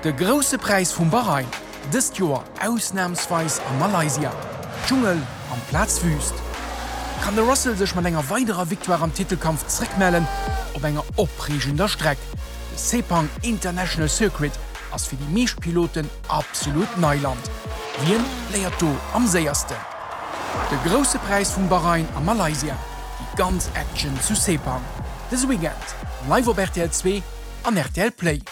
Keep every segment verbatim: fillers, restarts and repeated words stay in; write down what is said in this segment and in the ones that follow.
De Grousse Präis vum Bahrain, dëst Joer ausnamsweis a Malaysia. Dschungel amplaz Wüüst. Kann de Russell sech mat enger weiderer Victoire am Titelkampf zréckmellen op enger opreegender Streck? De Sepang International Circuit ass fir déi meescht Piloten absolut Neiland. Wien léiert do am séiersten? De Grousse Präis vum Bahrain a Malaysia, déi ganz Action zu Sepang. Dëse Weekend live op rtl zwee an rtl Play.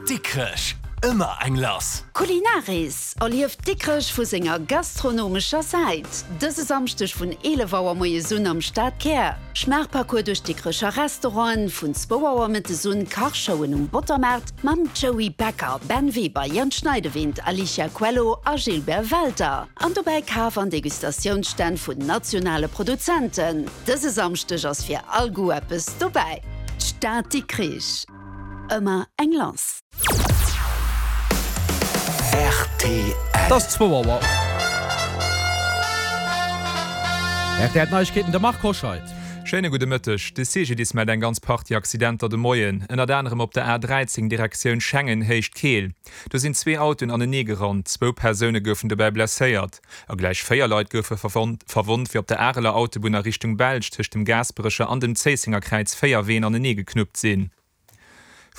Dikrech, ëmmer eng lass! Kulinaris, Erlieft Dikrech vu senger gastronomescher Säit! Dëse Samschdeg vun eelef Auer moies un am Stadkär. Schmaachparcours duerch d'Dikrecher Restauranten, vun zwou Auer mëttes un Kachshowen um Bottermaart mam Joey Becker, Ben Weber, Jan Schneidewind, Alicia Coelho a Gilbert Welter. An dobäi Kaf an Degustatiounsstänn vun nationale Produzenten. Dëse Samschdeg ass fir all Goût eppes dobäi. D'Stad Dikrich, ëmmer eng lass! Rtl. Et ass zwou Auer. R T L Neiegkeeten, de Marc Hoscheid. Schéine gudde Mëtteg. De C G D I S mellt eng ganz Partie Accidenter de Moien, ënnert anerem op der A dräizéng Direktioun Schengen, Héicht Keel. Do sinn zwee Autoen anenee gerannt, zwou Persoune goufen dobäi blesséiert a gläich véier Leit goufe verwonnt, wéi op der Areler Autobunn a Richtung Belsch tëscht dem Gaasperecher an dem Zéissenger Kräiz véier Ween anenee geknuppt sinn.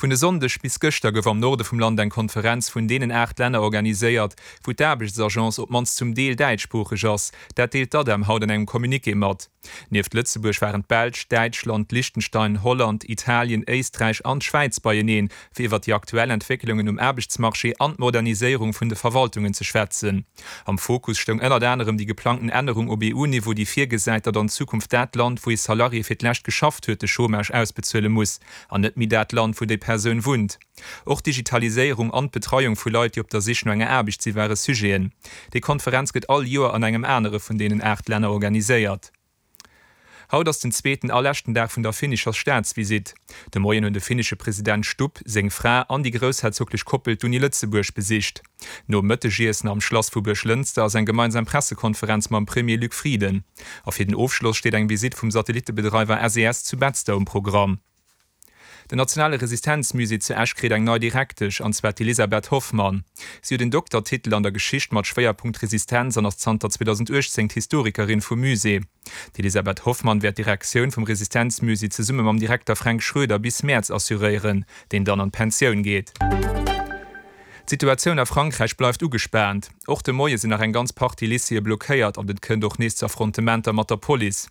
Vun e Sonndeg bis gëschter gouf am Norde vum Land eng Konferenz vun deenen aacht Länner organiséiert, wou d'Aarbechtsagence op d'mannst zum Deel däitschsproocheg ass. Dat deelt d'ADEM haut an engem Communiqué mat. Nieft Lëtzebuerg waren d'Belsch, Däitschland, Liechtenstein, Holland, Italien, Éisträich an d'Schwäiz beieneen, fir iwwer déi aktuell Entwécklungen um Aarbechtsmarché an d'Moderniséierung vun de Verwaltungen ze schwätzen. Am Fokus stoung ënnert anerem déi geplangten Ännerung op E U-Niveau, déi virgesäit, datt an Zukunft dat Land, wou ee Salarié fir d'lescht geschafft huet, de Chômage ausbezuele muss, an net méi dat Land, wou déi Persoun wunnt. Och d'Digitaliséierung an d'Betreiung vu Leit, déi op der Sich no enger Aarbecht si ware Sujeten. Déi Konferenz gëtt all Joer an engem anere vun deenen aacht Länner organiséiert. Haut ass den zweeten a leschten Dag vun der finnescher Staatsvisitt. De Moien hunn de finnesche President Stubb, seng Fra an déi groussherzoglech Koppel d'Uni Lëtzebuerg besicht. Nom Mëttegiessen am Schlass vu Buerglënster ass eng gemeinsam Pressekonferenz mam Premier Luc Frieden. A fir den Ofschloss steet eng Visitt vum Satellitebedreiwer S E S zu Betzder um Programm. Den Nationale Resistenzmusée zu Esch kritt eng nei Direktesch, an zwar d'Elisabeth Hoffmann. Si huet en Doktertitel an der Geschicht mat Schwéierpunkt Resistenz an ass zanter zweedausendachtzéng d'Historikerin vum Musée. D'Elisabeth Hoffmann wäert d'Direktioun vum Resistenzmusée zesumme mam Direkter Fränk Schroeder bis Mäerz assuréieren, deen dann an d'Pensioun geet. D'Situatioun a Frankräich bleift ugespaant. Och de Moie sinn nach eng ganz Partie Lycéeë blockéiert an et kënnt och nees zu Affrontementer mat der Police.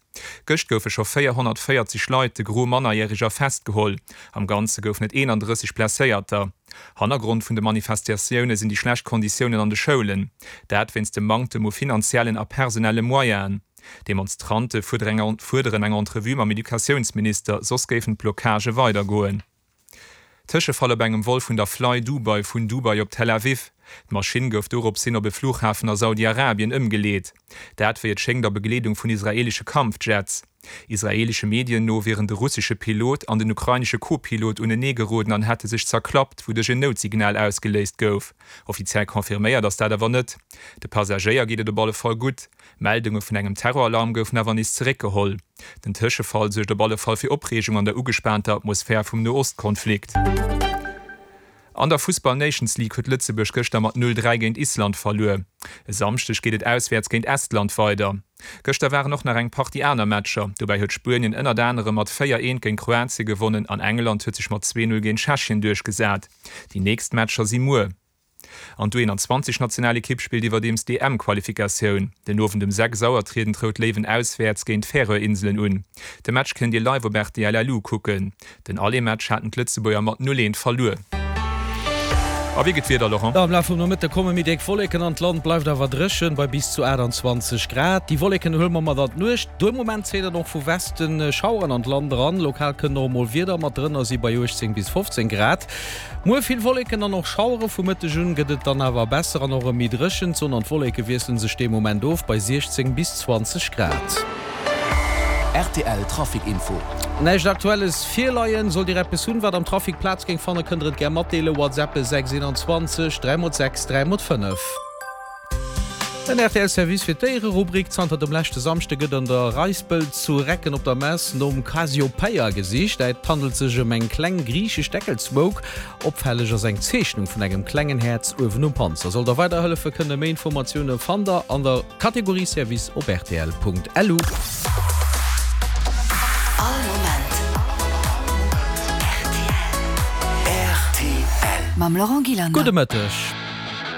Gëscht goufe scho véierhonnertvéierzeg Leit, de Gros Mannerjäreger, festgeholl. Am Ganze goufen et eenandrësseg Blesséierter. Hannergrond vun de Manifestatioune sinn déi schlecht Konditiounen an de Schoulen. Dat wéinst dem Manktem u finanziellen a personelle Moyenen. D'Demonstrante fuerderen eng Entrevue mam Educatiounsminister, soss géifen d'Blockagë weidergoen. Tëschefall op engem Vol vun der Fly Dubai vun Dubai op Tel Aviv. D'Maschinn gouf doropshin op e Flughafen a Saudi-Arabien ëmgeleet. Dat wéi et schéngt a Begleedung vun israeelesche Kampfjets. Israeelesche Medien no wieren de russesche Pilot an den ukrainesche Co-Pilot uneneegeroden an hätte sech zerklappt, wouduerch en Noutsignal ausgeléist gouf. Offiziell confirméiert ass dat awer net. De Passagéier geet et op alle Fall gutt. Meldunge vun engem Terroralarm goufen awer nees zeréckgeholl. Den Tëschefall suergt op alle Fall fir Opreegung an der ugespaanter Atmosphär vum Noostkonflikt. An der Fussball Nations League huet Lëtzebuerg gëschter mat null, dräi géint Island verluer. E Samschdeg geet et auswäerts géint Estland weider. Gëschter waren och nach eng Partie aner Matcher. Dobäi huet Spuenien ënnert anerem mat véier, eent géint Kroatie gewonnen an England huet sech mat zwee, null géint Tschechien duerchgesat. Déi nächst Matcher si muer. An d'U eenanzwanzeg Nationalekipp spillt iwwerdeems d'E M-Qualifikatioun. Den Owend um sechs Auer trieden d'Rout Léiwen auswäerts géint d'Färöer Inselen un. De Match kënnt Dir live op R T L L U kucken. Den Aller-Match haten d'Lëtzebuerger mat null eent verluer. A wéi geet d'Wieder, Laurent? Am Laf vum Nomëtte komme méi déck Wolleken an d'Land, bleift awer dréchen bei bis zu aachtanzwanzeg Grad. Déi Wolleken huele mer mat an d'Nuecht. De Moment zéien dann och vu Westen Schaueren an d'Land eran, lokal kënnen och emol Wieder mat drënner si bei uechtzéng bis fofzéng Grad. Muer vill Wolleken an och Schauere, vu Mëtteg un gëtt et dann awer besser an och erëm méi dréchen. D'Sonn an d'Wolleke wiessele sech dee Moment of bei siechzéng bis zwanzeg Grad. R T L Trafic Info. Näischt Aktuelles virleien. Sollt Dir eppes hunn, wat am Trafic Plaz géing fannen, kënnt Der et gär matdeelen. WhatsApp sechs eenanzwanzeg dräi mol sechs dräi mol fënnef. Den rtl Service fir d'Déiererubrik, Zanter dem leschte Samschde gëtt an der Reispel zu Recken op der Mess nom Cassiopeia gesicht. Et handelt sech ëm eng kleng griichesch Deckelsmouk. Opfälleg ass eng Zeechnung vun engem klengen Häerz uewen um Panzer. Sollt der weiderhëllefe kënnen, méi Informatioune fannt der an der Kategorie Service op rtl.lu. All Moment rtl. Rtl. Mam Laurent Gillander. Gudde Mëtteg.